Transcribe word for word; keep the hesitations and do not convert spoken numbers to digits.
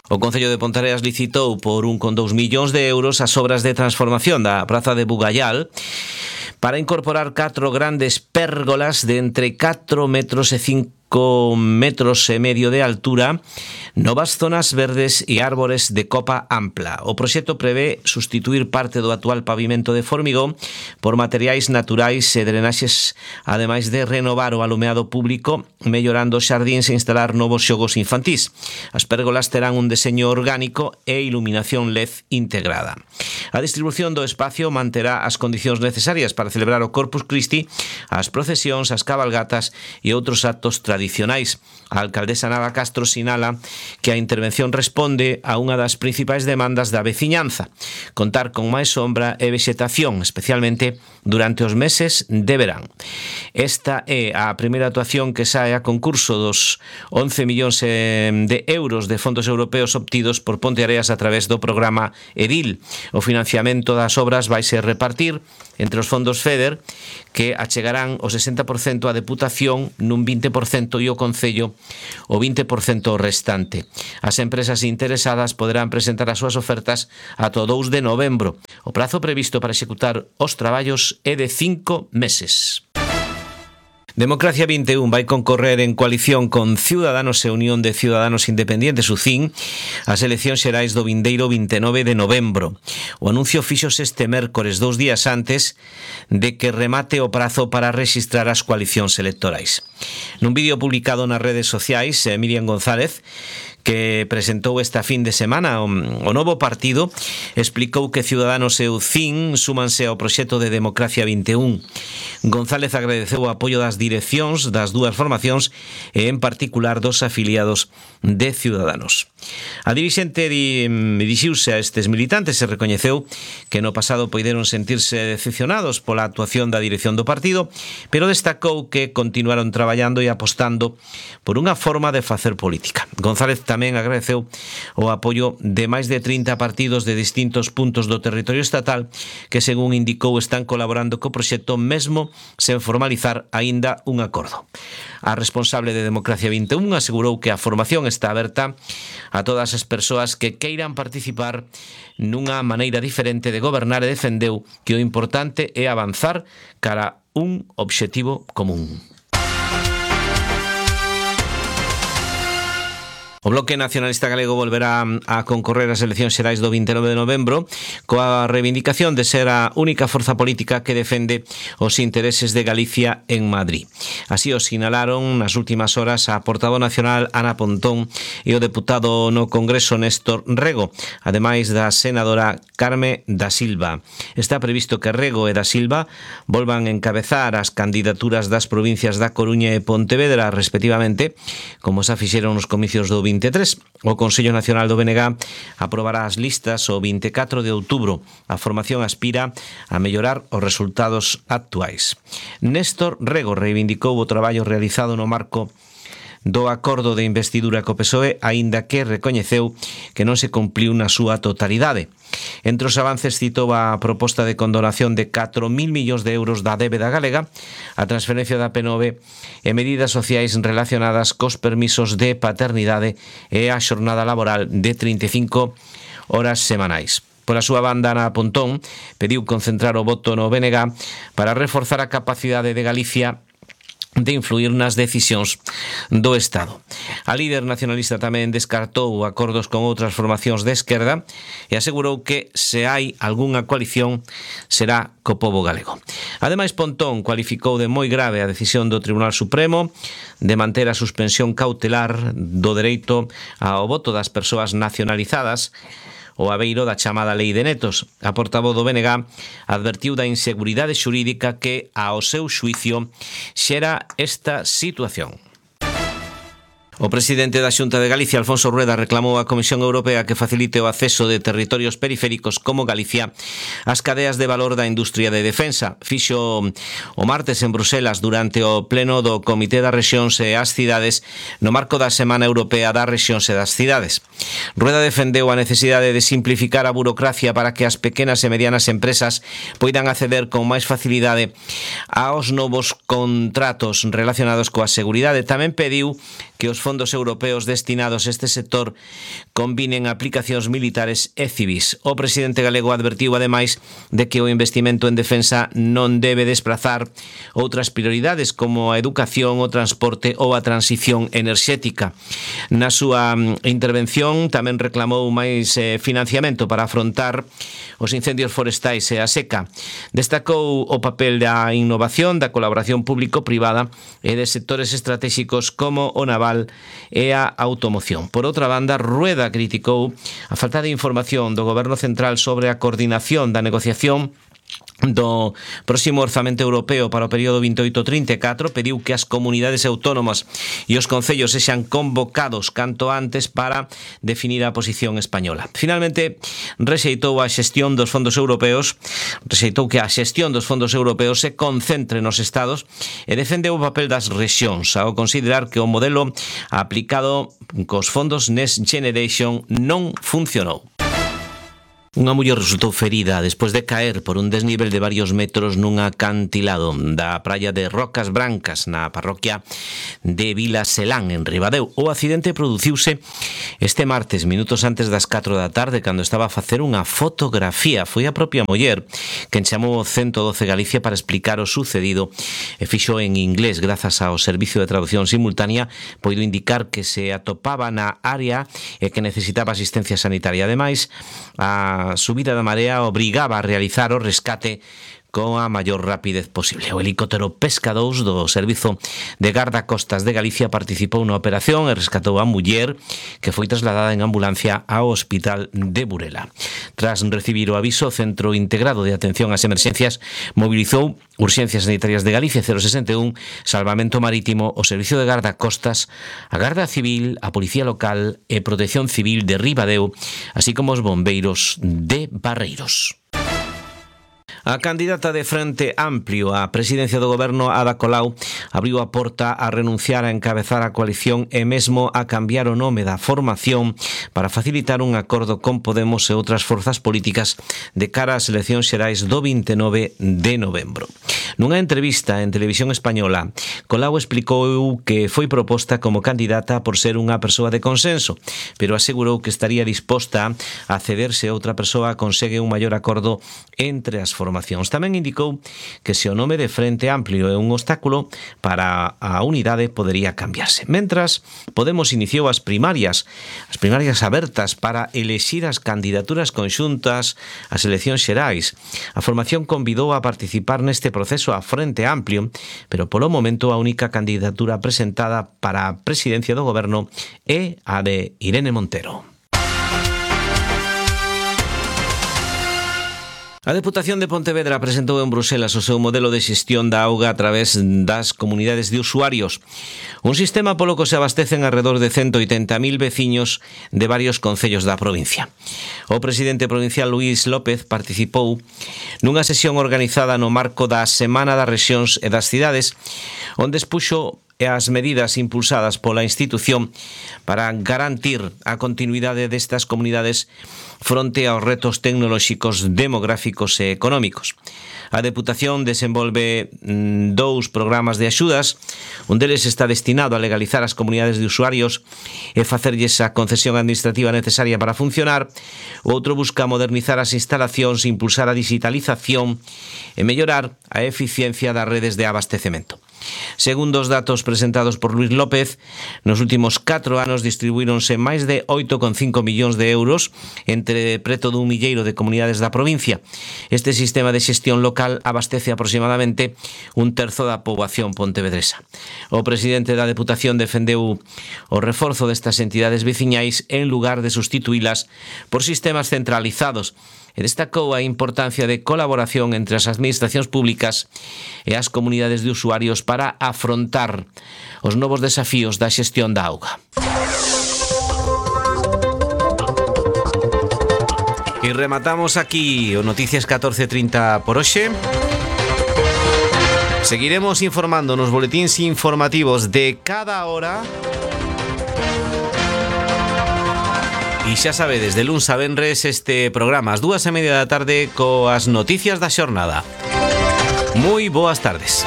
O Concello de Ponteareas licitou por un con dous millóns de euros as obras de transformación da praza de Bugallal para incorporar catro grandes pérgolas de entre catro metros e cinco metros e medio de altura, novas zonas verdes e árbores de copa ampla. O proxecto prevé sustituir parte do actual pavimento de formigón por materiais naturais e drenaxes, ademais de renovar o alumeado público, mellorando os xardíns e instalar novos xogos infantís. As pérgolas terán un deseño orgánico e iluminación L E D integrada. A distribución do espacio manterá as condicións necesarias para celebrar o Corpus Christi, as procesións, as cabalgatas e outros actos tradicionais. A alcaldesa Nava Castro sinala que a intervención responde a unha das principais demandas da veciñanza: contar con máis sombra e vexetación, especialmente durante os meses de verán. Esta é a primeira actuación que sae a concurso dos once millóns de euros de fondos europeos obtidos por Ponteareas a través do programa EDIL. O financiamento das obras vai ser repartir entre os fondos FEDER, que achegarán o sesenta por cento á Deputación nun vinte por cento e o Concello o vinte por cento restante. As empresas interesadas poderán presentar as súas ofertas ata o dous de novembro. O prazo previsto para executar os traballos é de cinco meses. Democracia vinte e un vai concorrer en coalición con Ciudadanos e Unión de Ciudadanos Independientes, U C I N, as eleccións xerais do vindeiro vinte e nove de novembro. O anuncio fíxose este mércores, dous días antes de que remate o prazo para registrar as coalicións electorais. Nun vídeo publicado nas redes sociais, Miriam González, que presentou esta fin de semana o, o novo partido, explicou que Ciudadanos e U C I N súmanse ao proxecto de Democracia vinte e un. González agradeceu o apoio das direccións das dúas formacións e, en particular, dos afiliados de Ciudadanos. A dirixente dirixiuse a estes militantes e recoñeceu que no pasado poideron sentirse decepcionados pola actuación da dirección do partido, pero destacou que continuaron traballando e apostando por unha forma de facer política. González tamén agradeceu o apoio de máis de trinta partidos de distintos puntos do territorio estatal que, según indicou, están colaborando co proxecto mesmo sen formalizar aínda un acordo. A responsable de Democracia vinte e un asegurou que a formación está aberta a todas as persoas que queiran participar nunha maneira diferente de gobernar e defendeu que o importante é avanzar cara a un obxectivo común. O Bloque Nacionalista Galego volverá a concorrer ás eleccións xerais do vinte e nove de novembro coa reivindicación de ser a única forza política que defende os intereses de Galicia en Madrid. Así o sinalaron nas últimas horas a portavoz nacional Ana Pontón e o deputado no Congreso Néstor Rego, ademais da senadora Carme da Silva. Está previsto que Rego e da Silva volvan encabezar as candidaturas das provincias da Coruña e Pontevedra, respectivamente, como xa fixeron nos comicios do vinte e tres. O Consello Nacional do B N G aprobará as listas o vinte e catro de outubro. A formación aspira a mellorar os resultados actuais. Néstor Rego reivindicou o traballo realizado no marco do acordo de investidura co P S O E, aínda que recoñeceu que non se cumpliu na súa totalidade. Entre os avances citou a proposta de condonación de catro mil millóns de euros da débeda galega, a transferencia da P nove e medidas sociais relacionadas cos permisos de paternidade e a xornada laboral de trinta e cinco horas semanais. Pola súa banda, Ana Pontón pediu concentrar o voto no B N G para reforzar a capacidade de Galicia de influir nas decisións do Estado. A líder nacionalista tamén descartou acordos con outras formacións de esquerda e asegurou que se hai algunha coalición será co pobo galego. Ademais, Pontón cualificou de moi grave a decisión do Tribunal Supremo de manter a suspensión cautelar do dereito ao voto das persoas nacionalizadas o abeiro da chamada Lei de Netos. A portavoz do B N G advertiu da inseguridade xurídica que, ao seu xuicio, xera esta situación. O presidente da Xunta de Galicia, Alfonso Rueda, reclamou á Comisión Europea que facilite o acceso de territorios periféricos como Galicia ás cadeas de valor da industria de defensa. Fixo o martes en Bruselas durante o pleno do Comité das Rexións e as Cidades no marco da Semana Europea das Rexións e das Cidades. Rueda defendeu a necesidade de simplificar a burocracia para que as pequenas e medianas empresas poidan acceder con máis facilidade aos novos contratos relacionados coa seguridade. Tamén pediu que os fondos europeos destinados a este sector combinen aplicacións militares e civís. O presidente galego advertiu ademais de que o investimento en defensa non debe desprazar outras prioridades como a educación, o transporte ou a transición enerxética. Na súa intervención tamén reclamou máis eh, financiamento para afrontar os incendios forestais e a seca. Destacou o papel da innovación, da colaboración público-privada e de sectores estratégicos como o naval e a automoción. Por outra banda, Rueda criticou a falta de información do Goberno Central sobre a coordinación da negociación do próximo orzamento europeo para o período veintiocho trinta e catro. Pediu que as comunidades autónomas e os concellos sexan convocados canto antes para definir a posición española. Finalmente, rexeitou a xestión dos fondos europeos, rexeitou que a xestión dos fondos europeos se concentre nos estados e defendeu o papel das rexións, ao considerar que o modelo aplicado cos fondos Next Generation non funcionou. Unha muller resultou ferida despois de caer por un desnivel de varios metros nun acantilado da praia de Rocas Brancas na parroquia de Vila Selán, en Ribadeo. O accidente produciuse este martes, minutos antes das catro da tarde, cando estaba a facer unha fotografía. Foi a propia muller quen chamou o ciento doce Galicia para explicar o sucedido e fixo en inglés. Grazas ao servicio de traducción simultánea, poido indicar que se atopaba na área e que necesitaba asistencia sanitaria. Ademais, a A subida da marea obrigaba a realizar o rescate con a maior rapidez posible. O helicóptero Pesca dous do Servizo de Gardacostas de Galicia participou na operación e rescatou a muller, que foi trasladada en ambulancia ao Hospital de Burela. Tras recibir o aviso, o Centro Integrado de Atención ás Emerxencias mobilizou Urxencias Sanitarias de Galicia, cero sesenta e un, Salvamento Marítimo, o Servicio de Gardacostas, a Garda Civil, a Policía Local e Protección Civil de Ribadeo, así como os bombeiros de Barreiros. A candidata de Frente Amplio á presidencia do goberno, Ada Colau, abriu a porta a renunciar a encabezar a coalición e mesmo a cambiar o nome da formación para facilitar un acordo con Podemos e outras forzas políticas de cara ás eleccións xerais do vinte e nove de novembro. Nunha entrevista en Televisión Española, Colau explicou que foi proposta como candidata por ser unha persoa de consenso, pero asegurou que estaría disposta a ceder se outra persoa consegue un maior acordo entre as formacións. Tamén indicou que se o nome de Frente Amplio é un obstáculo para a unidade, podería cambiarse. Mentras, Podemos iniciou as primarias, as primarias abertas para elexir as candidaturas conxuntas ás eleccións xerais. A formación convidou a participar neste proceso a Frente Amplio, pero polo momento a única candidatura presentada para a presidencia do goberno é a de Irene Montero. A Deputación de Pontevedra presentou en Bruselas o seu modelo de xestión da auga a través das comunidades de usuarios. Un sistema polo que se abastecen alrededor de ciento oitenta mil veciños de varios concellos da provincia. O presidente provincial Luís López participou nunha sesión organizada no marco da Semana das Rexións e das Cidades, onde expuxo as medidas impulsadas pola institución para garantir a continuidade destas comunidades fronte aos retos tecnolóxicos, demográficos e económicos. A Deputación desenvolve dous programas de axudas. Un deles está destinado a legalizar as comunidades de usuarios e facerlles a concesión administrativa necesaria para funcionar. O outro busca modernizar as instalacións, impulsar a digitalización e mellorar a eficiencia das redes de abastecemento. Segundo os datos presentados por Luís López, nos últimos catro anos distribuíronse máis de oito coma cinco millóns de euros entre preto dun milleiro de comunidades da provincia. Este sistema de xestión local abastece aproximadamente un terzo da poboación pontevedresa. O presidente da Deputación defendeu o reforzo destas entidades veciñais en lugar de sustituílas por sistemas centralizados e destacou a importancia de colaboración entre as administracións públicas e as comunidades de usuarios para afrontar os novos desafíos da xestión da auga. E rematamos aquí o Noticias catorce trinta por hoxe. Seguiremos informando nos boletíns informativos de cada hora. E xa sabedes, de luns a venres este programa ás dúas e media da tarde coas noticias da xornada. Moi boas tardes.